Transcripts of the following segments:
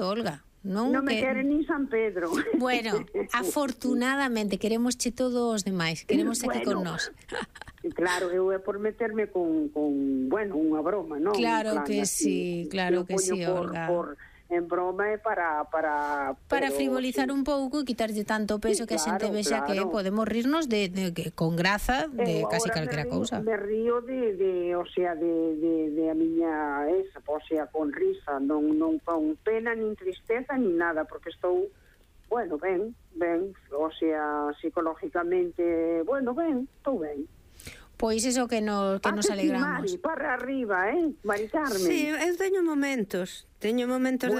momento, Olga. Non me quere nin San Pedro. Bueno, afortunadamente queremosche todos os demais, queremos aquí con nós. Claro, eu é por meterme con bueno, unha broma, non? Claro que sí, Olga. En broma é para frivolizar un pouco e quitarlle tanto peso que a xente vexa que podemos rirnos de con graza de casi calquera cousa. Me río de o sea, de a miña esa, o sea, con risa, non con pena nin tristeza nin nada, porque estou, bueno, ben, o sea, psicológicamente, bueno, estou ben. Pois iso que nos alegramos. Mari, para arriba, Mari Carmen. Sí, eu teño momentos de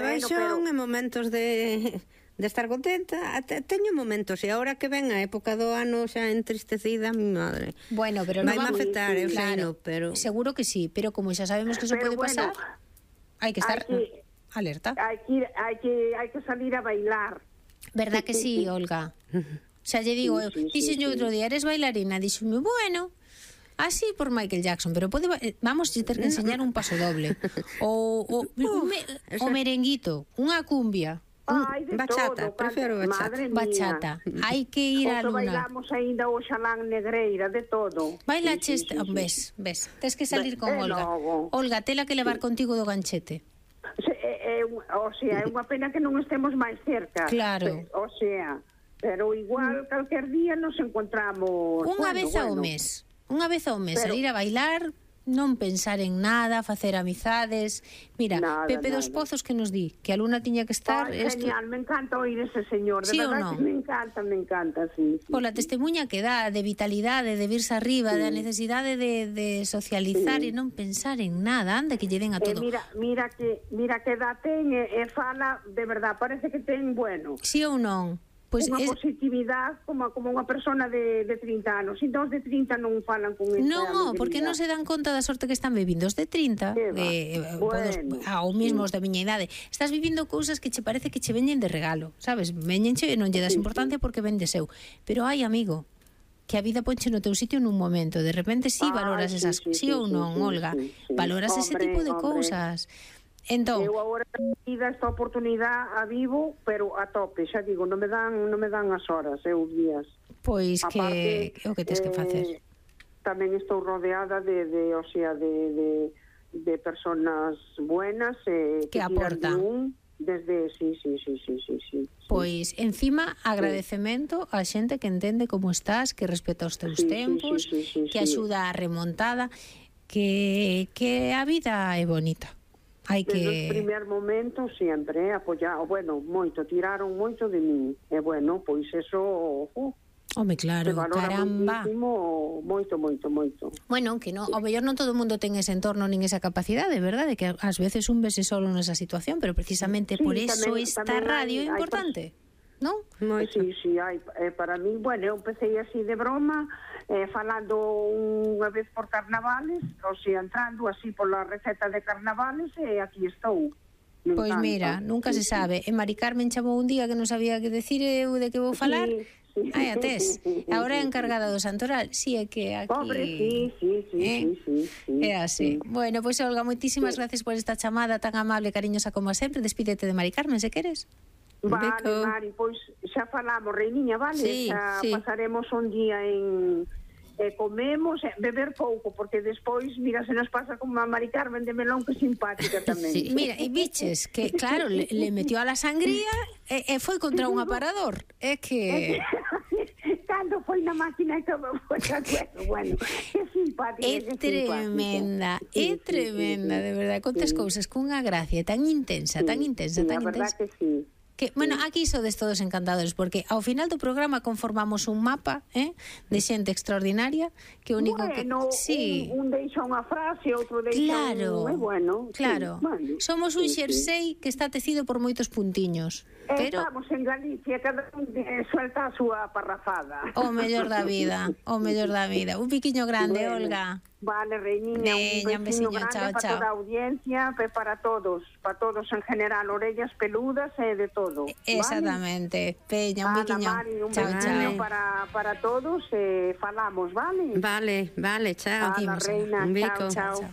baixón e momentos de estar contenta. Teño momentos, e agora que ven a época do ano xa entristecida, mi madre. Bueno, pero vai me afectar, eu sei, pero seguro que sí, pero como xa sabemos que eso pode pasar, hai que estar alerta. Hai que salir a bailar. Verdad que sí, Olga? Xa lle digo, dixenlle outro día, eres bailarina, dixenme, bueno, así por Michael Jackson, pero vamos a ter que enseñar un paso doble o merenguito, unha cumbia, bachata, prefiro bachata. Hai que ir a Luna. Bailamos ainda o xalán negreira, de todo. Bailaches, ves, tes que salir con Olga. Olga, tela que levar contigo do ganchete. O sea, é unha pena que non estemos máis cerca. Claro. O sea, pero igual calquer día nos encontramos unha vez ao mes. Unha vez ao mes, salir a bailar, non pensar en nada, facer amizades. Mira, Pepe dos Pozos que nos di que a Luna tiña que estar... Genial, me encanta oír ese señor, de verdad que me encanta, sí. Pola testemunha que dá, de vitalidade, de virse arriba, da necesidade de socializar e non pensar en nada, anda que lle den a todo. Mira que dá ten e fala, de verdad, parece que ten, bueno. Sí ou non? Pues unha positividade como unha persona de 30 anos. E dos de 30 non falan con esta non, porque non se dan conta da sorte que están vivindo os de 30 ou mesmo os da miña idade. Estás vivindo cousas que che parece que che veñen de regalo, sabes? Veñenche e non lle das importancia porque ven de seu. Pero hai, amigo, que a vida ponche no teu sitio nun momento. De repente valoras esas, sí ou non, Olga? Valoras ese tipo de cousas. Entón, eu agora esta oportunidade a vivo, pero a tope, xa digo, non me dan as horas, os días. Pois que o que tens que facer. Tamén estou rodeada de personas buenas que aportan. Desde sí. Pois encima agradecemento á xente que entende como estás, que respeta os teus tempos, que axuda a remontada, que a vida é bonita. Desde os primeros momentos sempre apoiado, bueno, moito, tiraron moito de min, e bueno, pois eso home, claro, caramba, moito. Bueno, que non, ao mellor non todo o mundo ten ese entorno nin esa capacidade, verdade, que ás veces un vese solo nesa situación, pero precisamente por eso esta radio é importante, non? Sí, hai, para mí, bueno, eu empecé así de broma, falando unha vez por carnavales, o sea, entrando así pola receta de carnavales, e aquí estou. Pois mira, nunca se sabe. E Mari Carmen chamou un día que non sabía que decir eu de que vou falar. Ai, atés. Agora é encargada do Santoral. Si, é que aquí... Pobre, sí. É así. Bueno, pois Olga, moitísimas gracias por esta chamada tan amable e cariñosa como sempre. Despídete de Mari Carmen, se queres. Vale, Mari, pois xa falamos, reiniña, vale? Xa pasaremos un día en... comemos, beber pouco, porque despois, mira, se nos pasa como a Mari Carmen de Melón, que simpática tamén. Sí. Mira, e biches, que claro, le metió a la sangría e foi contra un aparador. É que... Cando foi na máquina que foi bueno, que simpática. É tremenda, de verdade, contas cousas cunha gracia tan intensa. A verdad que sí. Que, bueno, aquí sodes todos encantadores, porque ao final do programa conformamos un mapa de xente extraordinaria, que o único bueno, que... Sí. Un deixa unha frase, outro deixa Claro, somos un xersei que está tecido por moitos puntiños. Pero estamos en Galicia, cada un suelta a súa parrafada. O mellor da vida. Un piquiño grande, Olga. Vale, reiniña, un veciño grande chao. Para toda a audiencia, para todos en general, orellas peludas e de todo. Exactamente. Peña, un piquiño. Chao. Para todos, falamos, vale? Vale, chao. A la reina, un bico. Chao.